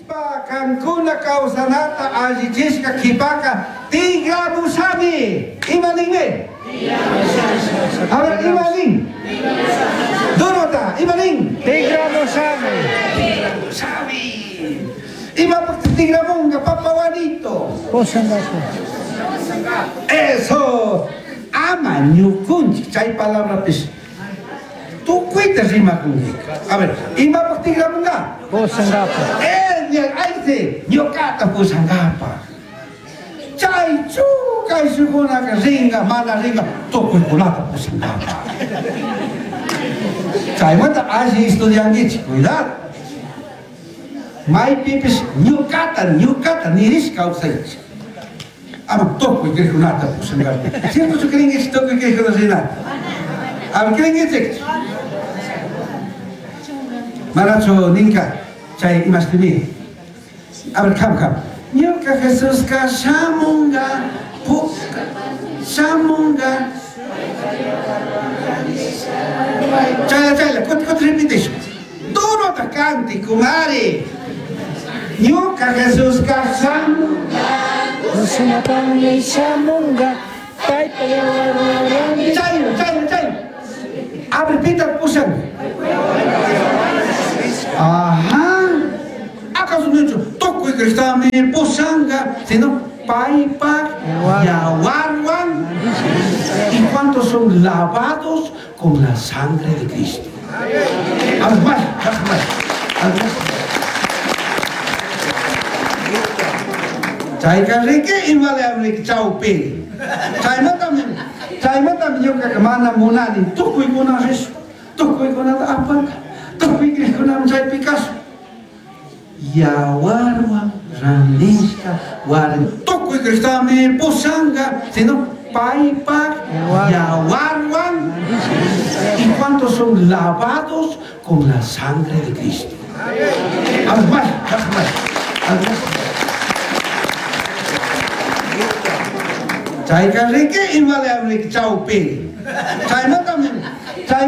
Rishpa cancuna causanata allichishca quipaca tigramushami. Ima ninmi? A ver, ima nin? Durota, ima nin? Tigramushami. Tigramushami. Imapaj tigramunga, papawanito? Pushangapu. Eso. Ama ñukunchik chay palabrapish tukuyta rimakunki. A ver, imapaj tigramunga? Pushangapu. Ayse, ñuqata pushankapaj. Chaychu kayshukkunaka ringa, mana ringa, tukuykunata pushankapaj. Chaymanta alli estudiankichik, cuidado. Maypipish ñuqata, ñuqata nirish kawsaychik. Ama tukuy criqkunata pushankapaj. Ciertochu crinkichik tukuy criqkuna rinata? A ver, crinkichikchu? Manachu ninka chay imashtimi? A ver, kam, kam. Ñuka Jesuska shamunga, puka, shamunga. Chayla, chayla, kuti, kuti repitish. Durota canti, kumari. Ñuka Jesuska shamunga. Pushanapami shamunga. Paypa yawarwan Chayla, chayla, chayla. A ver, pita pushan. Ajá. ¿Acaso no hecho tukuy criqtami pushanga, sino paypa yawarwan? ¿Y cuántos son lavados con la sangre de Cristo? A ver, más, más, más. A ver, más. Chayka riki imale chawpi. Chaymantami, chaymantami ñuqaqa mana munani tukuykuna rish, tukuykunata apanka, tukuy criqkunami chaypi kashun. Yawarwan randishka warmi tukuy criqtami pushanga, sino paypa yawarwan. ¿Y cuántos son lavados con la sangre de Cristo? A ver, más, más, más. A ver, más. Chayka riki imale chawpi. Chaymantami,